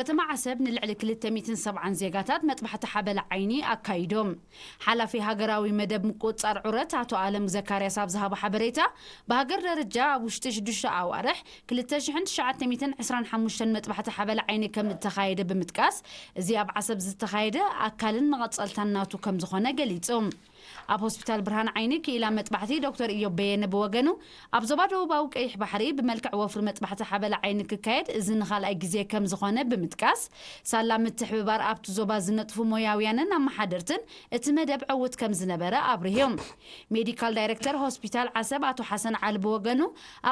ከተማ ዓሰብ ንልዕሊ ክልተ ሚእትን ሰብዓን ዜጋታት መጥባሕቲ ሓበላ ዓይኒ ኣካይዶም። ሓላፊ ሃገራዊ መደብ ምቁጽጻር ዑረት ኣቶ ኣለም ዘካርያስ ኣብ ዝሃቦ ሓበሬታ፣ ብሃገር ደረጃ ኣብ ውሽጢ ሽዱሽተ ኣዋርሕ ክልተ ሽሕን ትሽዓተ ሚእትን ዕስራን ሓሙሽተን መጥባሕቲ ሓበላ ዓይኒ ከም እተኻየደ ብምጥቃስ፣ እዚ ኣብ ዓሰብ ዝተኻየደ ኣካልን መቐጸልታን ናቱ ከም ዝኾነ ገሊጹ። ኣብ ሆስፒታል ብርሃን ዓይኒ ክኢላ መጥባሕቲ ዶክተር ኢዮብ በየነ ብወገኑ፣ ኣብ ዞባ ደቡባዊ ቀይሕ ባሕሪ ብመልክዕ ወፍሪ መጥባሕቲ ሓበላ ዓይኒ ክካየድ እዚ ንኻልኣይ ግዜ ከም ዝኾነ ብምጥቃስ፣ ሳላ ምትሕብባር ኣብቲ ዞባ ዝነጥፉ ሞያውያንን ኣመሓደርትን እቲ መደብ ዕዉት ከም ዝነበረ ኣብሪሁ። ሜዲካል ዳይሬክተር ሆስፒታል ዓሰብ ኣቶ ሓሰን ዓሊ ብወገኑ፣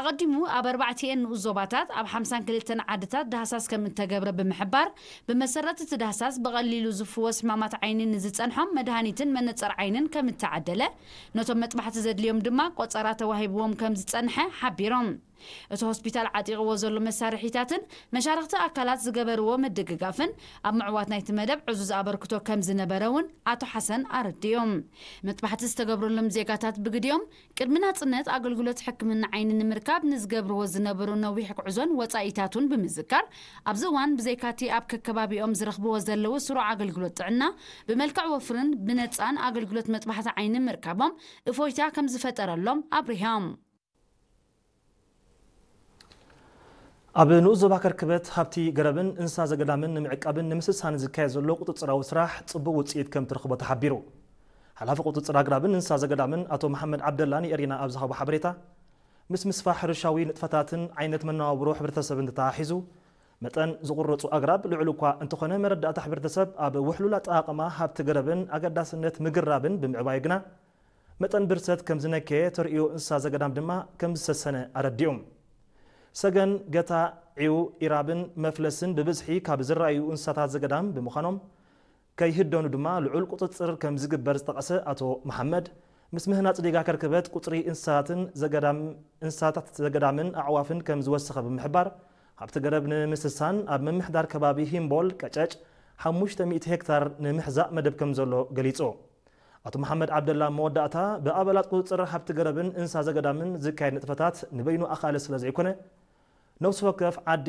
ኣቐዲሙ ኣብ ኣርባዕቲኤን ንኡስ ዞባታት ኣብ ሓምሳን ክልተን ዓድታት ዳህሳስ ከም እተገብረ ብምሕባር፣ ብመሰረት እቲ ዳህሳስ ብቐሊሉ ዝፍወስ ሕማማት ዓይኒ ንዝጸንሖም መድሃኒትን መነጸር ዓይንን ከም እተዓደለ፣ ነቶም መጥባሕቲ ዘድልዮም ድማ ቆጸራ ተዋሂብዎም ከም ዝጸንሐ ሓቢሮም። እቲ ሆስፒታል ዓጢቕዎ ዘሎ መሳርሒታትን መሻርኽቲ ኣካላት ዝገበርዎ ምድግጋፍን ኣብ ምዕዋት ናይቲ መደብ ዕዙዝ ኣበርክቶ ከም ዝነበረ እውን ኣቶ ሓሰን ኣረዲኦም። መጥባሕቲ ዝተገብረሎም ዜጋታት ብግዲኦም፣ ቅድሚ ናጽነት ኣገልግሎት ሕክምና ዓይኒ ንምርካብ ንዝገብርዎ ዝነበሩ ነዊሕ ጉዕዞን ወጻኢታቱን ብምዝካር፣ ኣብዚ እዋን ብዘይካቲ ኣብ ከከባቢኦም ዝረኽብዎ ዘለዉ ስሩዕ ኣገልግሎት ጥዕና፣ ብመልክዕ ወፍርን ብነጻን ኣገልግሎት መጥባሕቲ ዓይኒ ምርካቦም እፎይታ ከም ዝፈጠረሎም ኣብሪሆም። ኣብ ንኡስ ዞባ ከርክበት ሃብቲ ገረብን እንስሳ ዘገዳምን ንምዕቃብን ንምስሳን ዝካየድ ዘሎ ቁጽጽራዊ ስራሕ ጽቡቕ ውጽኢት ከም ትረኽቦ ተሓቢሩ። ሓላፊ ቁጽጽር ኣግራብን እንስሳ ዘገዳምን ኣቶ መሓመድ ዓብደላ ንኤሪና ኣብ ዝሃቦ ሓበሬታ፣ ምስ ምስፋሕ ሕርሻዊ ንጥፈታትን ዓይነት መነባብሮ ሕብረተሰብን ተተሓሒዙ፣ መጠን ዝቑረጹ ኣግራብ ልዑል እኳ እንተኾነ፣ መረዳእታ ሕብረተሰብ ኣብ ውሕሉል ኣጠቓቕማ ሃብቲ ገረብን ኣገዳስነት ምግራብን ብምዕባዩ ግና፣ መጠን ብርሰት ከም ዝነከየ፣ ተርእዮ እንስሳ ዘገዳም ድማ ከም ዝሰሰነ ኣረዲኦም። ሰገን፣ ገታ፣ ዒው፣ ኢራብን መፍለስን ብብዝሒ ካብ ዝረኣዩ እንስሳታት ዘገዳም ብምዃኖም፣ ከይህደኑ ድማ ልዑል ቁጽጽር ከም ዝግበር ዝጠቐሰ ኣቶ መሓመድ፣ ምስ ምህናጽ ዲጋ ከርክበት ቁጽሪ እንስሳትን ዘገዳም፣ እንስሳታት ዘገዳምን ኣዕዋፍን ከም ዝወሰኸ ብምሕባር፣ ሃብቲ ገረብ ንምስሳን ኣብ ምምሕዳር ከባቢ ሂምቦል ቀጨጭ ሓሙሽተ ሚእቲ ሄክታር ንምሕዛእ መደብ ከም ዘሎ ገሊጹ። ኣቶ መሓመድ ዓብደላ መወዳእታ፣ ብኣባላት ቁጽጽር ሃብቲ ገረብን እንስሳ ዘገዳምን ዝካየድ ንጥፈታት ንበይኑ ኣኻሊ ስለ ዘይኮነ፣ ነፍሲ ወከፍ ዓዲ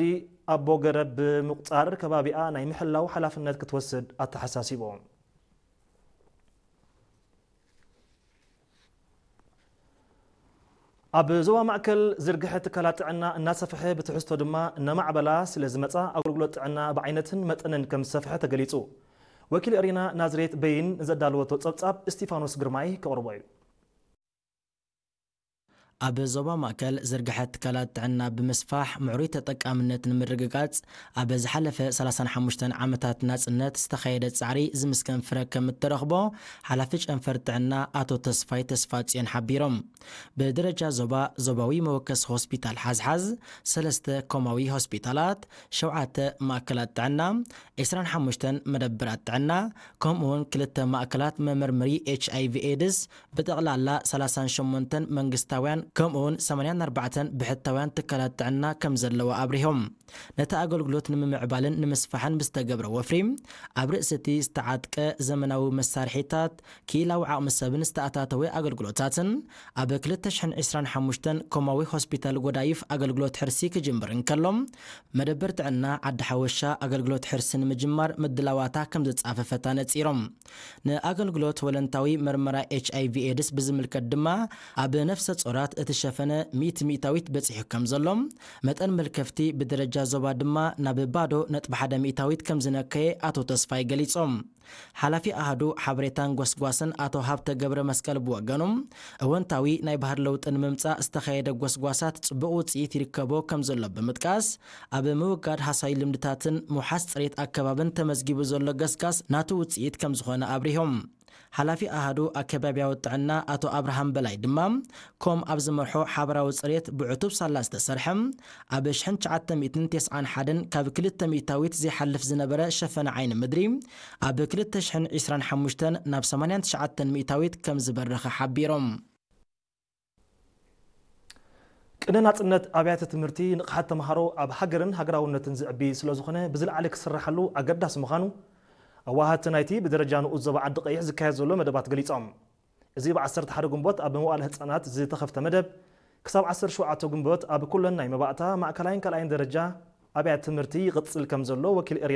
ኣቦ ገረብ ብምቁጻር ከባቢኣ ናይ ምሕላው ሓላፍነት ክትወስድ ኣተሓሳሲቡ። ኣብ ዞባ ማእከል ዝርግሐ ትካላት ጥዕና እናሰፍሐ ብትሕዝቶ ድማ እናማዕበላ ስለ ዝመጻ ኣገልግሎት ጥዕና ብዓይነትን መጠንን ከም ዝሰፍሐ ተገሊጹ። ወኪል ኤሪና ናዝሬት በይን ንዘዳለወቶ ጸብጻብ እስቲፋኖስ ግርማይ ከቕርቦ እዩ። ኣብ ዞባ ማእከል ዝርግሐ ትካላት ጥዕና ብምስፋሕ ምዕሩይ ተጠቃምነት ንምርግጋጽ ኣብ ዝሓለፈ ሰላሳን ሓሙሽተን ዓመታት ናጽነት ዝተኻየደ ጻዕሪ ዝምስገን ፍረ ከም እተረኽቦ ሓላፊ ጨንፈር ጥዕና ኣቶ ተስፋይ ተስፋጽዮን ሓቢሮም። ብደረጃ ዞባ፣ ዞባዊ መወከሲ ሆስፒታል ሓዝሓዝ፣ ሰለስተ ኮማዊ ሆስፒታላት፣ ሸውዓተ ማእከላት ጥዕና፣ ዕስራን ሓሙሽተን መደብራት ጥዕና፣ ከምኡውን ክልተ ማእከላት መመርመሪ ኤች ኣይ ቪ ኤድስ፣ ብጠቕላላ ሰላሳን ሸሞንተን መንግስታውያን ከምኡውን ሰማንያን ኣርባዕተን ብሕታውያን ትካላት ጥዕና ከም ዘለዋ ኣብሪሆም። ነቲ ኣገልግሎት ንምምዕባልን ንምስፋሕን ብዝተገብረ ወፍሪ፣ ኣብ ርእሲ እቲ ዝተዓጥቀ ዘመናዊ መሳርሒታት፣ ክኢላዊ ዓቕሚ ሰብን ዝተኣታተወ ኣገልግሎታትን፣ ኣብ ክልተ ሽሕን ዕስራን ሓሙሽተን ኮማዊ ሆስፒታል ጎዳይፍ ኣገልግሎት ሕርሲ ክጅምር እንከሎ፣ መደበር ጥዕና ዓዲ ሓወሻ ኣገልግሎት ሕርሲ ንምጅማር ምድላዋታ ከም ዝጻፈፈታ ነጺሮም። ንኣገልግሎት ወለንታዊ መርመራ ኤች ኣይ ቪ ኤድስ ብዝምልከት ድማ፣ ኣብ ነፍሰ ጾራት እቲ ሸፈነ ሚእቲ ሚእታዊት በጺሑ ከም ዘሎ፣ መጠን መልከፍቲ ብደረጃ ዞባ ድማ ናብ ባዶ ነጥቢ ሓደ ሚእታዊት ከም ዝነከየ ኣቶ ተስፋይ ገሊጾም። ሓላፊ ኣሃዱ ሓበሬታን ጎስጓስን ኣቶ ሃብተ ገብረ መስቀል ብወገኑ፣ እወንታዊ ናይ ባህሪ ለውጢ ንምምጻእ ዝተኻየደ ጎስጓሳት ጽቡቕ ውጽኢት ይርከቦ ከም ዘሎ ብምጥቃስ፣ ኣብ ምውጋድ ሃሳዊ ልምድታትን ምውሓስ ጽሬት ኣከባብን ተመዝጊቡ ዘሎ ገስጋስ ናቱ ውጽኢት ከም ዝኾነ ኣብሪሆም። ሓላፊ ኣሃዱ ኣከባብያዊ ጥዕና ኣቶ ኣብርሃም በላይ ድማ፣ ኮም ኣብ ዝመርሖ ሓበራዊ ጽሬት ብዕቱብ ሳላ ዝተሰርሐ፣ ኣብ ሽሕን ትሽዓተ ሚእትን ተስዓን ሓደን ካብ ክልተ ሚእታዊት ዘይሓልፍ ዝነበረ ሸፈነ ዓይኒ ምድሪ፣ ኣብ ክልተ ሽሕን ዕስራን ሓሙሽተን ናብ ሰማንያን ትሽዓተን ሚእታዊት ከም ዝበረኸ ሓቢሮም። ቅነ ናጽነት ኣብያተ ትምህርቲ ንቕሓት ተምሃሮ ኣብ ሃገርን ሃገራውነትን ዝዕቢ ስለ ዝኾነ ብዝለዓለ ክስራሓሉ ኣገዳሲ ምዃኑ ኣዋሃድቲ ናይቲ ብደረጃ ንኡስ ዞባ ዓዲ ቀይሕ ዝካየድ ዘሎ መደባት ገሊጾም። እዚ ብ ዓሰርተ ሓደ ግንቦት ኣብ መዋእለ ህጻናት ዝተኸፍተ መደብ ክሳብ ዓሰርተ ሸውዓተ ግንቦት ኣብ ኩለን ናይ መባእታ፣ ማእከላይን ካልኣይን ደረጃ ኣብያተ ትምህርቲ ይቕጽል ከም ዘሎ ወኪል ኤሪና